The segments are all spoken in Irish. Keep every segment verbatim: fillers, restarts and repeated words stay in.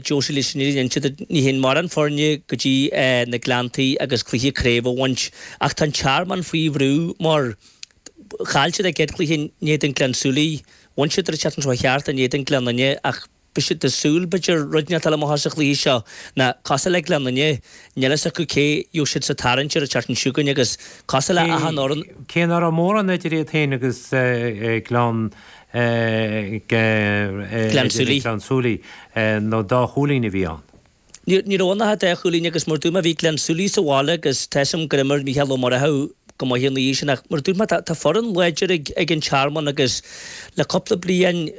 Josie leis an fhírinne a inse duit, ní théann mórán foirne go dtí na Gleanntaí agus cluiche craoibhe a bhaint ach tá an Tearmann faoi bhrú mar chaill siad a gcéad chluiche in éadan Gleann tSúilí, bhain siad ar an tseachtain seo cheart in éadan Gleann Fhinne ach beidh siad ag súil b'fhéidir rud inteacht eile amach sa chluiche seo ná cosúil le Gleann Fhinne, níl fhios acu cé gheobhaidh siad sa tarraingt ar an tseachtain seo chugainn agus cosúil le achan fhoireann. Cé nach raibh mórán idir iad féin agus Gleann Gleann tSúilí. Gleann tSúilí, nó dá chúilín a bhí ann. Ní raibh ann ach dá chúilín agus mar dúirt mé bhí Gleann tSúilí sa bhaile agus tá 'fhios a'm gur imir Mícheál Ó Murchú go maith an oíche sin ach mar dúirt mé tá foireann láidir ag an Tearmann agus le cúpla bliain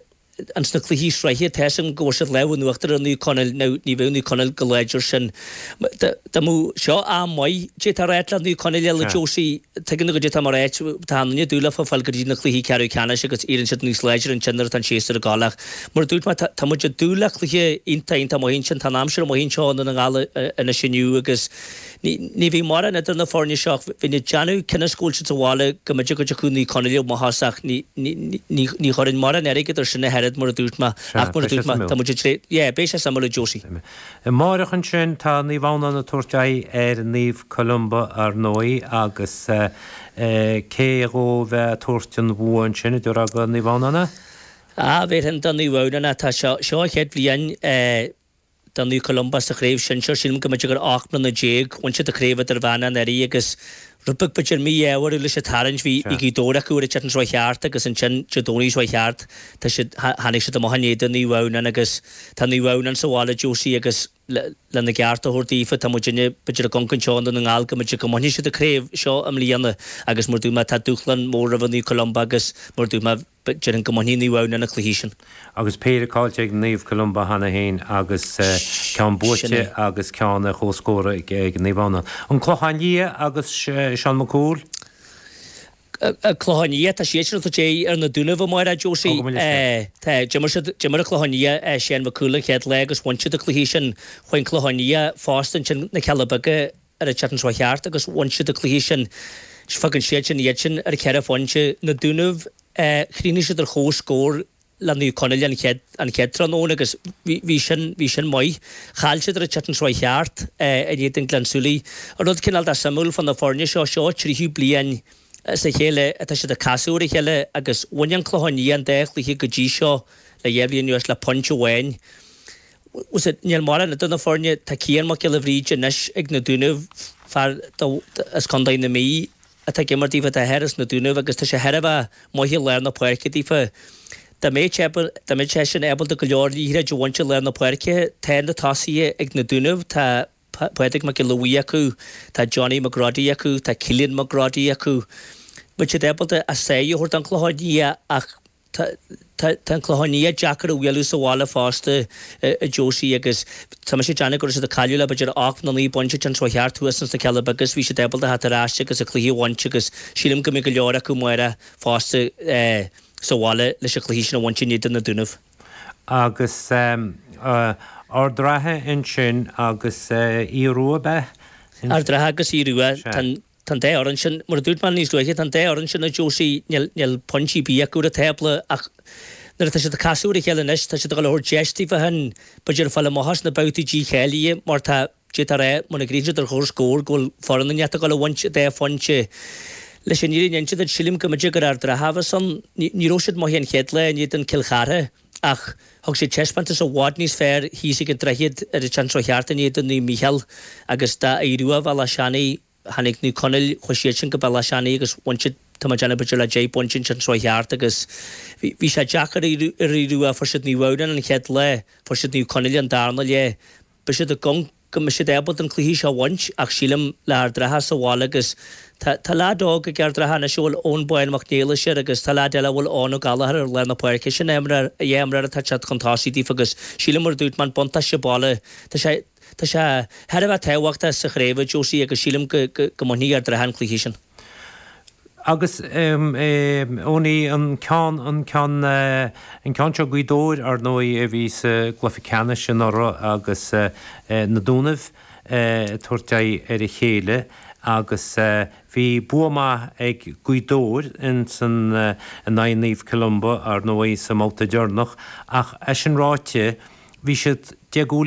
ins na cluichí sraithe tá 'fhios a'm go bhfuair siad lámh in uachtar ar Naomh Conaill now ní bheadh Naomh Conaill chomh láidir sin. Dá mbeadh seo am maith d'fhéadfá a ráit le Naomh Conaill eile Josie tuigeann tú goidé atá mé a ráit tá an duine dúil leofa fáil go dtí na cluichí ceathrú ceannais agus éiríonn siad níos láidre ansin nuair atá an séasúr ag gabháil ach mar a dúirt mé tá muid ag dúil le cluiche iontach iontach maith ansin tá an aimsir amuigh anseo i nDún na nGall anois inniu agus Ní bheidh mórán idir na foirne seo ach bheinn ag déanamh cionn is go bhfuil siad sa bhaile go mb'fhéidir go dtiocfadh Naomh Conaill amach as ach ní chuirfinn mórán airgid ar sin ach oiread mar a dúirt mé ach mar a dúirt mé tá muid ag tré yeah beidh sé suimiúil a Josie. Amáireach ansin tá Naomh Adhamhnáin ag tabhairt aghaidh ar Naomh Columba ar ndóigh agus cé dhó a bheidh ag tabhairt an bhua ansin a déarfá do Naomh Adhamhnáin? Ah bhéarfainn do Naomh Adhamhnáin tá seo seo an chéad bhliain eh do Naomh Columba sa chraobh shinsir, sílim go mb'fhéidir gur ocht mbliana déag, bhain siad an chraobh idirmheánach anuraidh agus rud beag b'fhéidir mí-ádh orthu leis an tarraingt, bhí bhí Gaoth Dobhair acu ar an tseachtain seo cheart agus ansin Dé Domhnaigh seo cheart tá siad tháinig siad amach in éadan Naomh Adhamhnáin agus tá Naomh Adhamhnáin sa bhaile Josie agus le lena gceart a thabhairt daofa tá muidinne b'fhéidir ag amharc anseo i nDún na nGall go mb'fhéidir go mbainfidh siad an chraobh seo i mbliana agus mar dúirt mé tá dúshlán mór roimh Naomh Columba agus mar dúirt mé Déarfainn go mbainfidh Naomh Adhamhnáin an cluiche sin. Agus péire caillte ag Naomh Columba cheana féin agus ceann buaite agus ceann ar comhscór ag Naomh Adhamhnáin. An Clochán Liath agus Seán Mac Cumhaill. An Clochán Liath, tá siad sin ag tabhairt aghaidh ar na Dúnaibh amárach, Josie. Tá, d'imir siad, d'imir an Clochán Liath Shane Mac Cumhaill an chéad lá agus bhain siad an cluiche sin. Chuaigh an Clochán Liath fosta ansin na Cealla Beaga ar an tseachtain seo cheart agus bhain siad an cluiche sin. Fágann siad sin iad sin ar cheithre phointe. Na Dúnaibh. Chríochnaigh siad ar comhscór le Naomh Conaill an chéad an chéad tráthnóna agus bhí bhí sin bhí sin maith. Chaill siad ar an tseachtain seo cheart in éadan Gleann tSúilí. An rud cineál de suimiúil fá na foirne seo, seo tríú bliain as a chéile atá siad ag casadh ar a chéile agus bhain an Clochán Liath an dá chluiche go dtí seo le dhá bhliain anuas le pointe amháin. Níl mórán idir na foirne, tá Cian Mac Giolla Bhríde anois ag na Dúnaibh, fear as Contae na Mí, atá ag imirt daofa, tá a athair as na Dúnaibh agus tá sé thar a bheith maith i lár na páirce daofa. Dá mbeadh sé dá mbeadh seisean ábalta go leor liathróid a bhaint i lár na páirce, tá na tosaithe ag na Dúnaibh, tá Pádraig Mac Giolla Bhuí acu, tá Johnny McGroddy acu, tá Cillian McGroddy acu. Beidh siad ábalta a sáith a thabhairt don Chlochán Liath ach Tá an Clochán Liath deacair a bhualadh sa bhaile fosta, a Josie, agus tá mise ag déanamh go raibh siad ag cailleadh le b'fhéidir ocht nó naoi bpointe an tseachtain seo cheart thuas ins na Cealla Beaga agus bhí siad ábalta theacht ar ais agus an cluiche a bhaint agus sílim go mbeidh go leor acu amárach fosta sa bhaile leis an chluiche sin a bhaint in éadan na Dúnaibh. Agus Ard an Rátha ansin agus Aodh Rua, ab ea? Ard an Rátha agus Aodh Rua, tá an. Tá an dá fhoireann sin, mar a dúirt mé níos luaithe, tá an dá fhoireann sin, a Josie, níl, níl pointí ar bith acu ar an tábla ach nuair atá siad ag casadh ar a chéile anois, tá siad ag dul a thabhairt deis daofa féin, b'fhéidir, fáil amach as na babhtaí dícháilithe mar tá, d'fhéadfá a rá, muna gcríochnaíonn siad ar chomhscór go bhfuil foireann inteacht ag dul a bhaint dhá phointe. Leis an fhírinne a inse duit, sílim go mb'fhéidir gur Ard an Rátha a bheas ann. Ní, ní raibh siad maith an chéad lá in éadan Cill Chartha ach thug siad taispeántas i bhfad níos fearr thíos ag an Droichead ar an tseachtain seo cheart in éadan Naomh Mícheál agus dá Aodh Rua Bhealach Seanaidh, Tháinig Naomh Conaill, chuaigh siad sin go Bealach Seanaidh agus bhain siad, tá mé ag déanamh b'fhéidir le deich bpointe an tseachtain seo cheart agus bhí, bhí sé deacair ar Aodh Rua, fuair siad Naomh Adhamhnáin an chéad lá, fuair siad Naomh Conaill an darna lá. Beidh siad ag amharc go mbeidh siad ábalta an cluiche seo a bhaint ach sílim le Ard an Rátha sa bhaile agus tá, tá leaid óg ag Ard an Rátha anois a bhfuil Eoin Bán Mac Niallais air agus tá leaid eile a bhfuil Eoin Ó Gallchóir ar lár na páirce, sin imreoir, dhá imreoir atá ag teacht chun tosaigh daofa agus sílim mar a dúirt mé an buntáiste baile, tá sé, Tá sé thar a bheith tábhachtach sa chraobh, a Josie, agus sílim go mbainfidh Ard an Rátha an cluiche sin. Agus Eoiní, an ceann, an ceann, an ceann seo Gaoth Dobhair, ar ndóigh, a bhí sa gcluiche ceannais anuraidh agus na Dúnaibh ag tabhairt aghaidh ar a chéile agus bhí bua maith ag Gaoth Dobhair insan, in aghaidh Naomh Columba, ar ndóigh, sa mbabhta deireanach ach é sin ráite, Bhí siad deich gcúilín